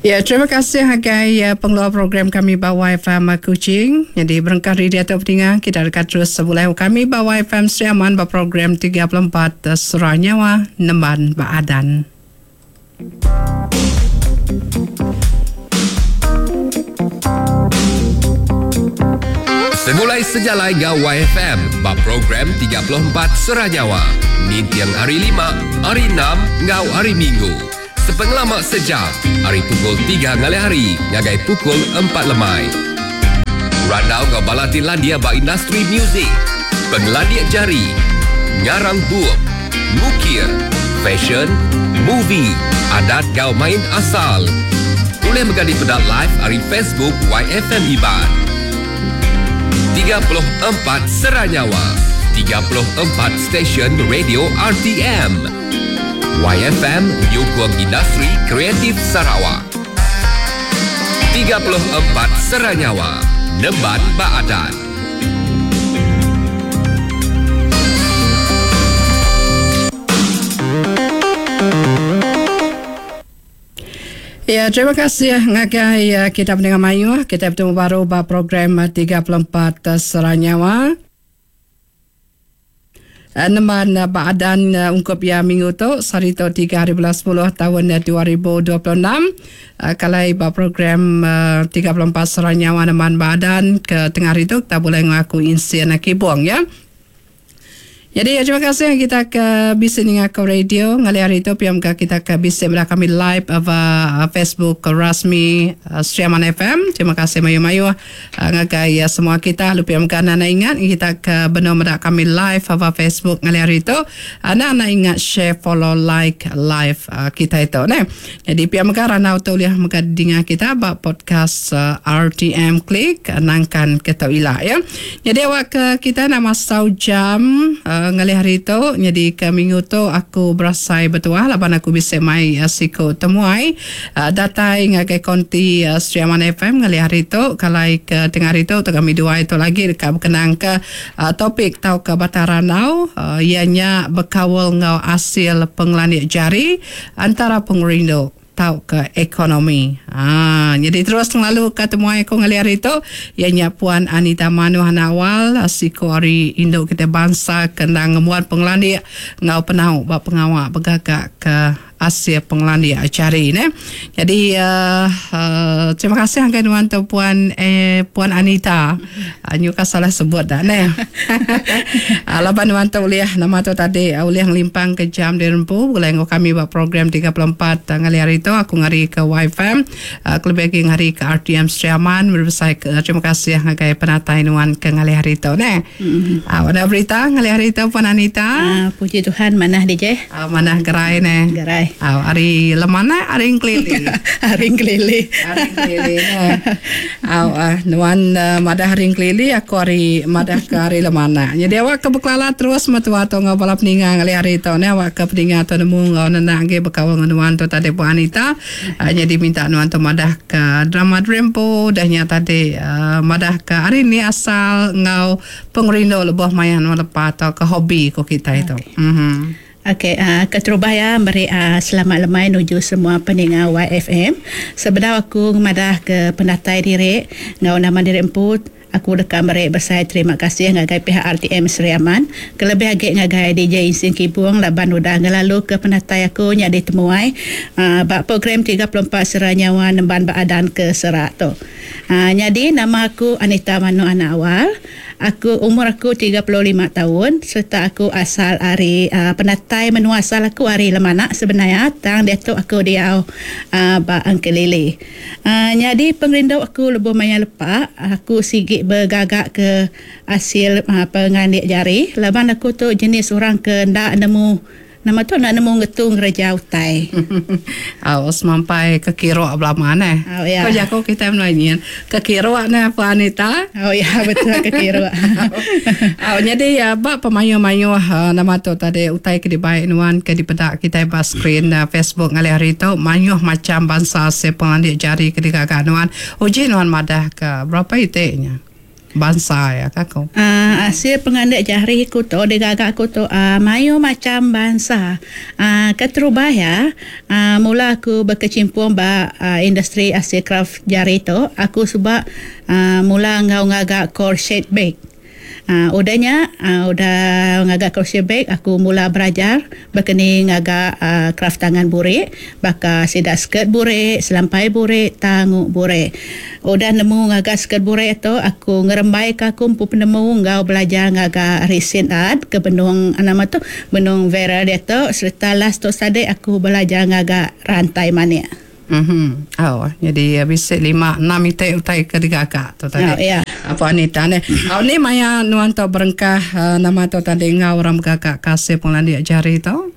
Ya, terima kasih agai eh, pengeluar program kami ba YFM Kuching. Jadi berengkah dari diatu peninga, kita deka terus sebulai kami ba YFM Sri Aman ba program 34 eh, Surah Nyawa Nemban ba Adan. Segulai sejalai enggau YFM ba program 34 Sera Nyawa ninting hari Lima, Hari Enam enggau Hari Minggu. Sepengelama sejam ari pukul tiga ngalih hari ngagai pukul empat lemai. Randau enggau bala ti landik ba industri muzik, pengelandik jari, ngarang bup, ngukir, fashion, movie, adat enggau main asal. Ulih mega dipeda live ari Facebook YFM Iban. 34 Sera Nyawa, 34 stesen radio RTM. YFM nyukung industri kreatif Sarawak. 34 Sera Nyawa, nemban ba adat. Ya, terima kasih ngagai eh, kita pendengar mayuh. Kita bertemu baru ba program 34 eh, Sera Nyawa. Nemban ba adan ungkup iya minggu tu, sehari tu tiga hari bulan sepuluh taun 2026. Kalai ba program 34 Sera Nyawa Nemban ba adan ke tengah hari tu kita bulih ngaku insin kibung ya. Jadi terima kasih kita ke bisi ninga ke radio ngalih hari tu pia mega kita ke bisi meda kami live ba Facebook rasmi Sri Aman FM. Terima kasih mayuh-mayuh. Ngagai semua kita lalu pia mega enda ingat kita ke benung meda kami live ba Facebook ngalih hari tu enda enda ingat share follow like live kitai tu neh. Jadi pia mega randau tu ulih mega didinga kita ba podcast RTM Klik nangkan ke tu ila ya. Jadi awak ke kita enda masau jam ngalih hari tu nyadi ke minggu tu aku berasai betuah laban aku bisi mai siku temuai Datai ngagai konti Sri Aman FM ngalih hari tu, kalai ke tengah hari tu kami duai tu lagi deka bekenangka topik tauka batang randau iya nya bekaul enggau asil pengelandik jari antara pengerindu tauka ekonomi. Haa nyadi terus ngelaluka temuai aku ngalih hari tu iya nya Puan Anita Manuh Anak Awal siku ari indu kitai bansa ke endang ngembuan pengelandik enggau penau ba pengawa begagaka Asil pengelandik jari neh. Jadi uh, terima kasih ngagai nuan tu puan eh, puan Anita. Uh, nyuka salah sebut dah neh. uh, laban nuan tu ulih nama tu tadi uh, ulih ngelimpang ke jam dirempu begulai enggau kami ba program 34 uh, ngalih hari tu aku ngari ke YFM uh, kelebih agi ngari ke RTM Sri Aman berbesai ke terima kasih ngagai penatai nuan ke ngalih hari tu neh. Mm. Uh, ada berita ngalih hari tu puan Anita? Uh, puji Tuhan manah DJ. Au manah gerai neh. Gerai. Au ari lemana ari engkelili. Ari engkelili. Ari engkelili neh. Au ah nuan madah ari engkelili aku ari madah ke ari lemana. Nyadi awak ke bekelala terus metua tu enggau bala peninga ngalih hari tu neh awak ke peninga tu nemu enggau nenak agi bekaul enggau nuan tu tadi Puan Anita. Nyadi minta nuan tu madah ke drama Drempo udah nya tadi madah ke ari ni asal enggau Pengerindu lebuh maya nuan lepa tauka hobi ku kitai tu. Uhh. Okey, uh, keterubah ya meri uh, selamat lemai nuju semua peninga YFM. Sebedau aku ngemadah ke penatai diri enggau nama diri empu, aku deka meri besai terima kasih ngagai pihak RTM Sri Aman, kelebih agi ngagai DJ Insing Kibung laban udah ngelaluka penatai aku nyadi temuai uh, ba program 34 Sera Nyawa Nemban Baadan ke Serak tu. Uh, nyadi nama aku Anita Manu Anak Awal. Aku umur aku 35 taun sereta aku asal ari penatai menua asal aku ari Lemanak sebenaya tang diatu aku diau ba Engkelili. Nyadi pengerindu aku lebuh maya lepa aku sigi begaga ke asil pengelandik jari laban aku tu jenis orang ke enda nemu Nama tu enda nemu ngetu ngereja utai. Au semampai kekiruk belama neh. Au ya. Ko jaku kitai menua nyin, kekiruk neh Puan Anita. Au ya betul kekiruk. Au nyadi ba pemayuh-mayuh nama tu tadi utai ke dibai nuan ke dipeda kitai ba skrin Facebook ngalih hari tu mayuh macham bansa se pengelandik jari ke digaga nuan. Uji nuan madah ka berapa iti nya. Bansa iya ka ku. Asil pengandik jari ku tu digaga aku tu mayuh macham bansa. Keterubah iya mula aku bekechimpung ba industri asil kraf jari tu aku suba mula enggau ngaga crochet bag. Udah nya udah ngaga crochet bag aku mula belajar Baka ni ngaga kraf tangan burik baka sida skirt burik, selampai burik, tangu burik. Udah nemu ngaga skirt burik tu aku ngerembaika aku empu penemu enggau belajar ngaga resin art ke benung nama tu benung viral diatu sereta last tu tadi aku belajar ngaga rantai manik. Mhm. Au, nyadi bisi lima enam iti utai ke digaga tu tadi. Au, ya. Puan Anita neh. Au ni maya nuan tu berengkah nama tu tadi enggau orang begaga ke asil pengelandik jari tu?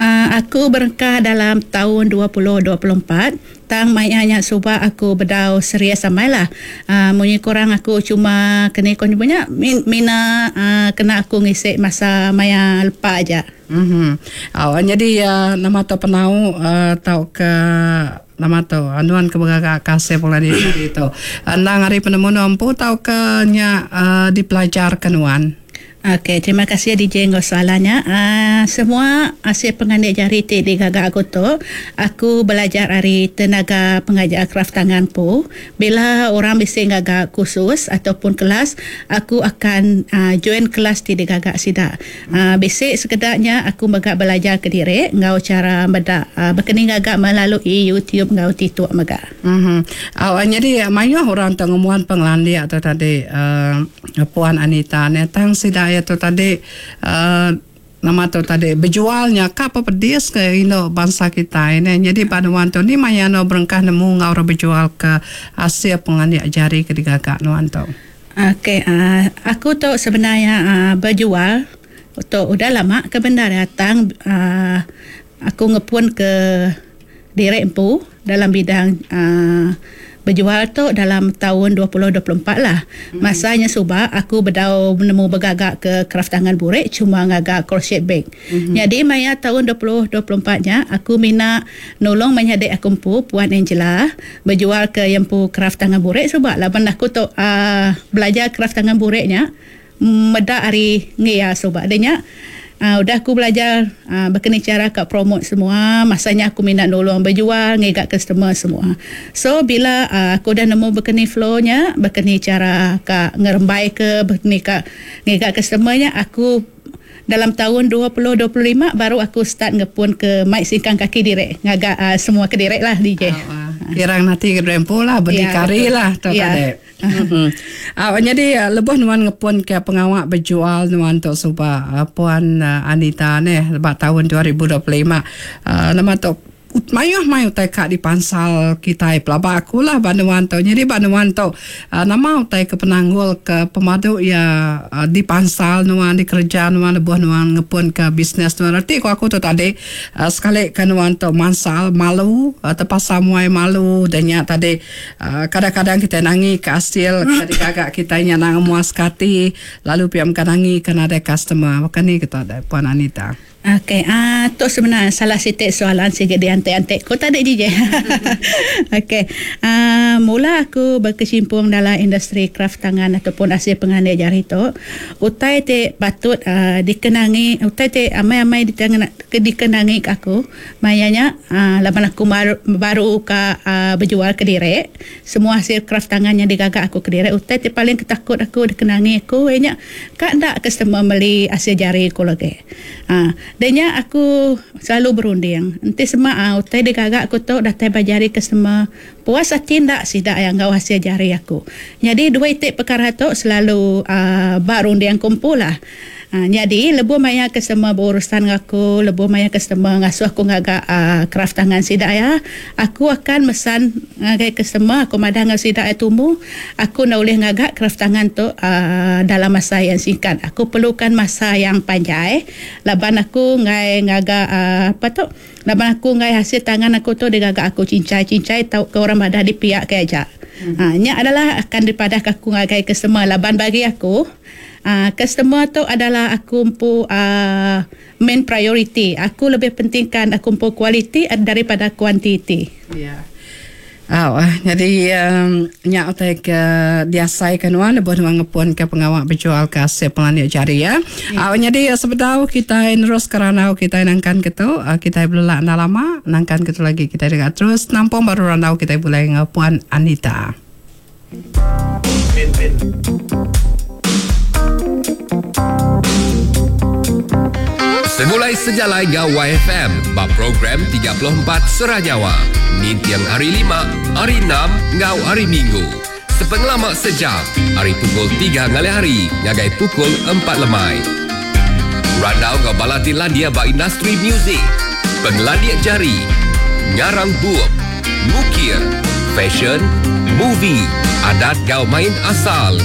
Uh, aku berengkah dalam taun 2024 tang maya nya suba aku bedau serius amai lah. Uh, munyi kurang aku cuma keni ko nyebut nya mina uh, kena aku ngisi masa maya lepa aja. Mhm. Au nyadi nama tu penau tauka nama tu nuan ke begaga ke asil pulai diri tu endang ari penemu nuan empu tauka nya dipelajarka nuan? Okey terima kasih DJ enggau soalan nya. Aaa semua asil pengandik jari ti digaga aku tu aku belajar ari tenaga pengajar kraftangan empu. Bila orang bisi ngaga kursus ataupun kelas aku akan join kelas ti digaga sida. Bisi sekeda nya aku mega belajar kediri enggau chara meda bekeni ngaga melalui YouTube enggau TikTok mega. Au nyadi mayuh orang tu ngembuan pengelandik tu tadi Puan Anita nih tang sida iya tu tadi nama tu tadi bejual nya ka pepedis ke indu bansa kitai nih nyadi ba nuan tu ni maya nuan berengkah nemu enggau orang bejual ke asil pengelandik jari ke digaga nuan tu. Ok aku tu sebenar iya bejual tu udah lama ke bendar iya tang aku ngepun ke diri empu dalam bidang bejual tu dalam taun 2024 lah. Masa nya suba aku bedau nemu begaga ke kraftangan burik cuma ngaga crochet bag. Nyadi maya taun 2024 nya aku mina nulung menyadi aku empu Puan Angela Bejual ke iya empu kraf tangan burik suba laban aku tu uhh belajar kraf tangan burik nya meda ari enggi iya suba deh nya uhh udah aku belajar uhh baka ni chara ka promote semua masa nya aku mina nulung bejual ngiga customer semua. So bila uhh aku udah nemu baka ni flow nya baka ni chara ka ngerembai ke baka ni ka ngiga customer nya aku Dalam taun 2025 baru aku start ngepun ke mai singkang kaki diri ngaga semua kediri lah DJ. Kirang nati ke diri empu lah berdikari lah tu tadi. Nyadi lebuh nuan ngepun ke pengawa bejual nuan tu suba Puan Anita neh ba taun 2025 nama tu Mayuh mai utai ka dipansal kitai pelaba aku lah ba nuan tu. Nyadi ba nuan tu nama utai ke penanggul ke pemadu iya dipansal nuan dikereja nuan lebuh nuan ngepun ka bisnes nuan. Reti ku aku tu tadi sekali ke nuan tu mansal malu tepasa muai malu da nya tadi kadang-kadang kitai nangi ka asil ke digaga kitai nya nang muaska ati lalu pia mega nangi ke nadai customer. Baka ni kita deh Puan Anita. Okey, aaa tu sebenar salah siti soalan sigi diantik-antik ku tadi ji je. Okey, aaa mula aku bekecimpung dalam industri kraf tangan ataupun asil pengelandik jari tu, utai ti patut aaa dikenangi, utai ti amai-amai dikenangi ka aku maya nya aaa laban aku baru ka aaa bejual kediri, semua asil kraf tangan nya digaga aku kediri, utai ti paling ketakut aku dikenangi aku iya nya ka enda customer meli asil jari ku lagi. Ha, deh nya aku selalu berunding, enti sema a utai digaga aku tu datai ba jari customer, puas ati enda sida iya enggau hasil jari aku. Nyadi dua iti pekara tu selalu a ba runding aku empu lah. Ha, nyadi lebuh maya customer berurusan enggau aku, lebuh maya customer ngasuh aku ngaga a kraf tangan sida iya, aku akan mesan ngagai customer aku madah enggau sida iya tumu, Aku enda ulih ngaga kraf tangan tu dalam masa yang singkat. Aku perlukan masa yang panjai laban aku enggai ngaga apa tu laban aku enggai hasil tangan aku tu digaga aku cincai-cincai tauka orang madah dipiak ke aja. Nya adalah akan dipadahka aku ngagai customer laban bagi aku customer tu adalah aku empu main priority. Aku lebih pentingkan aku empu kualiti daripada kuantiti. Ya. Au nyadi nya utai ke diasaika nuan lebuh nuan ngepunka pengawa bejualka asil pengelandik jari ya. Au nyadi sebedau kitai neruska randau kitai nangkan ke tu kitai belelak enda lama nangkan ke tu lagi kitai deka terus nampung baru randau kitai begulai enggau Puan Anita. Segulai sejalai enggau YFM ba program 34 Sera Nyawa ninting hari Lima, Hari Enam enggau Hari Minggu. Sepengelama sejam ari pukul tiga ngalih hari ngagai pukul empat lemai. Randau enggau bala ti landik ba industri muzik, pengelandik jari, ngarang bup, ngukir, fashion, movie, adat enggau main asal.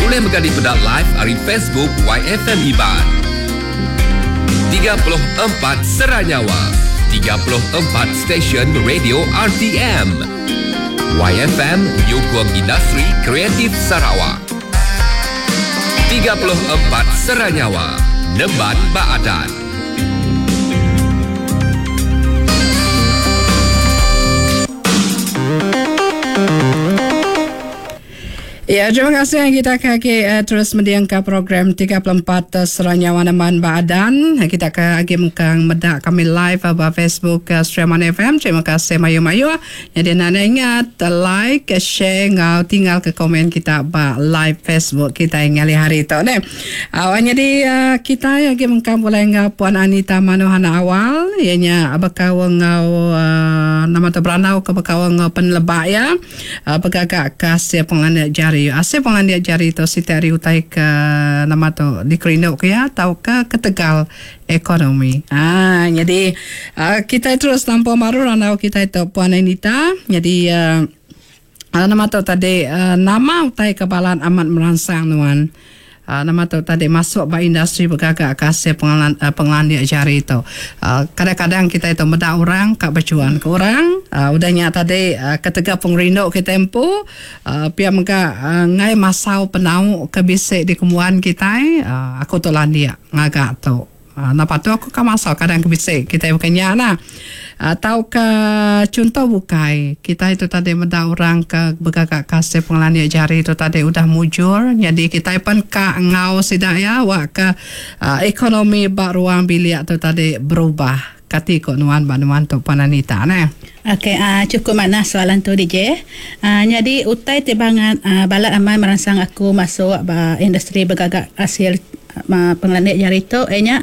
Ulih mega dipeda live ari Facebook YFM Iban. 34 Sera Nyawa, 34 stesen radio RTM. YFM nyukung industri kreatif Sarawak. 34 Sera Nyawa, nemban ba adat. Ya, terima kasih kita ke agi uh, terus mendingka program 34 uh, Seranyawa Neman Baadan. Kita ke agi mengkang meda kami live uh, ba Facebook uh, Streaman FM. Terima kasih mayu-mayu. Jadi anda ingat like, share ngau tinggal ke komen kita ba live Facebook kita ngali hari tu ne. Awak nyadi uh, kita agi mengkang boleh ngau Puan Anita Manuhana awal ianya bekau ngau uh, nama tu beranau ke bekau ngau penelebak ya. Begaga ke asil pengelandik jari. Asil pengelandik jari tu siti ari utai ke nama tu dikerindu ke iya tauka ketegal ekonomi. Haa nyadi kitai terus nampung baru randau kitai tu Puan Anita. Nyadi nama tu tadi nama utai ke balat amat meransang nuan. Nama tu tadi masuk ba industri begaga ke asil pengelandik jari tu. Kadang-kadang kitai tu meda orang ka bechuan ke orang. Udah nya tadi ketegal pengerindu kitai empu pia mega enggai masau penau ke bisi dikembuan kitai aku tu landik ngaga tu. Enda patut aku ka masa kadang ke bisi kitai baka nya nah. Tauka chunto bukai kitai tu tadi meda orang ke begaga ka asil pengelandik jari tu tadi udah mujur nyadi kitai pen ka enggau sida iya wak ka ekonomi ba ruang bilik tu tadi berubah. Kati ko nuan ba nuan tu Puan Anita neh. Okey chukup manah soalan tu DJ. Nyadi utai ti bangat balat amai meransang aku masuk ba industri begaga asil Pengelandik jari tu iya nya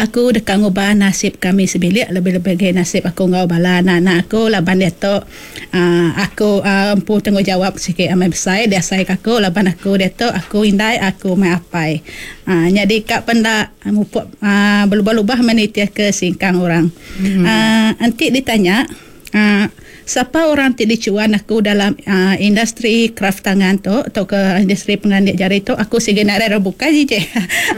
aku deka ngubah nasib kami sebilik lebih-lebih agi nasib aku enggau bala anak-anak aku laban diatu uhh aku empu tanggungjawab sigi amai besai diasai ka aku laban aku diatu aku indai aku meh apai. Uhh nyadi ka penda mupuk uhh belubah-lubah meh nitih ke singkang orang. Uhh enti ditanya uhh sapa orang ti dichuan aku dalam uhh industri kraftangan tu tauka industri pengelandik jari tu aku sigi nadai orang bukai ji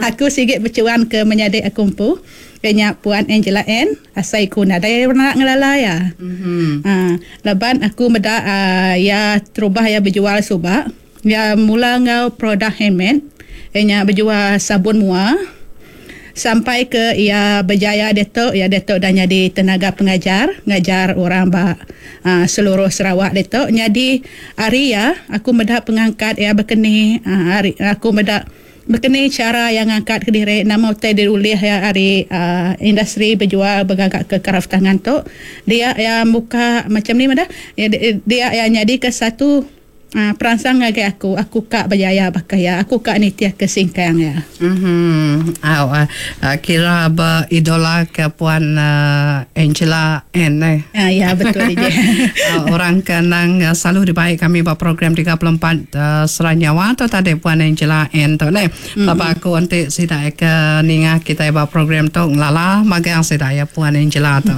aku sigi bechuan ke menyadi aku empu iya nya Puan Angela Ann asai ku nadai orang ngelala iya. Uhh laban aku meda uhh iya terubah iya bejual suba iya mula enggau produk handmade iya nya bejual sabun mua. Sampai ke iya bejaya diatu, iya diatu udah nyadi tenaga pengajar, ngajar orang ba seluruh Sarawak ditu. Nyadi ari iya aku meda pengangkat iya bekeni ari aku meda bekeni chara iya ngangkat kediri nama utai diulih iya ari industri bejual begaga ke kraf tangan tu. Dia iya muka macam ni madah dia iya nyadika satu. Peransang ngagai aku, aku ka bejaya baka iya, aku ka nitihka singkang iya. Uhh au kira ba idola ke puan Angela Ann eh. Ya betul DJ. Orang ke endang selalu dibai kami ba program 34 Sera Nyawa tu tadi puan Angela Ann tu neh. Pelaba aku enti sida ke ninga kitai ba program tu ngelala magang sida iya puan Angela tu.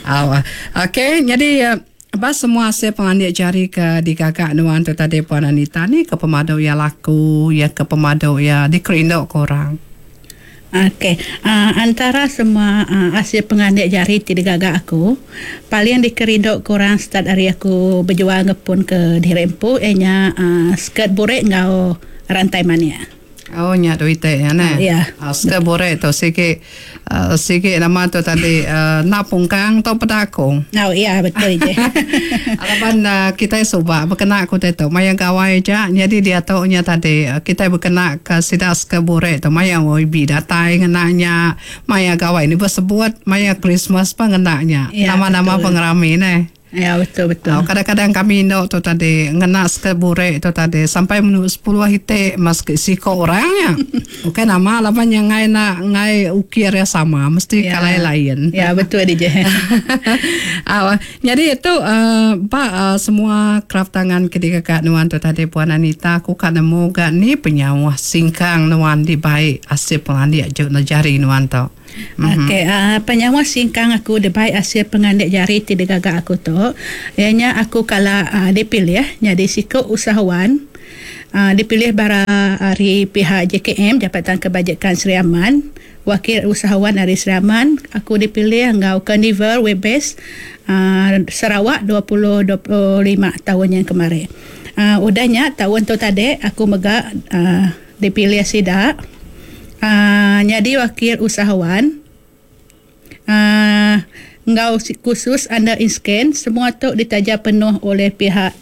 Au okey nyadi Ba semua asil pengelandik jari ke digaga nuan tu tadi Puan Anita ni ke pemadu iya laku, iya ke pemadu iya dikerindu ke orang. Okey, antara semua asil pengelandik jari ti digaga aku, paling dikerindu ke orang start ari aku bejual ngepun ke diri empu iya nya skirt burik enggau rantai manik. Oh nya duit te nya neh. Ya. Skirt burik tu sigi sigi nama tu tadi enda pungkang tau peda aku. Oh ya betul je. Laban kitai suba bekena ku utai tu maya gawai aja nyadi diatu nya tadi kitai bekena ka sida skirt burik tu maya YB datai ngena nya maya gawai ni besebut maya Christmas pun ngena nya. Nama-nama pengerami neh. Ya betul betul. Au kadang-kadang kami indu tu tadi ngena skirt burik tu tadi sampai menu sepuluh iti mas siko orang nya. Ukai nama laban nya enggai enda enggai ukir iya sama mesti Ya. kalai lain. Ya betul dije. Au nyadi tu uhh ba uhh semua kraf tangan ke digaga nuan tu tadi Puan Anita aku ka nemu ga ni penyauh singkang nuan dibai asil pengelandik ju jari nuan tu. Okey, uhh penyawa singkang aku dibai asil pengandik jari ti digaga aku tu iya nya aku kala uhh dipilih nyadi siku usahawan uhh dipilih bara ari pihak JKM Jabatan Kebajikan Sri Aman wakil usahawan ari Sri Aman aku dipilih enggau Carnival Webes uhh Sarawak 2025 taun nyin kemari. Uhh udah nya taun tu tadi aku mega uhh Dipilih sida nyadi wakil usahawan enggau kursus under INSKEN semua tu ditaja penuh oleh pihak.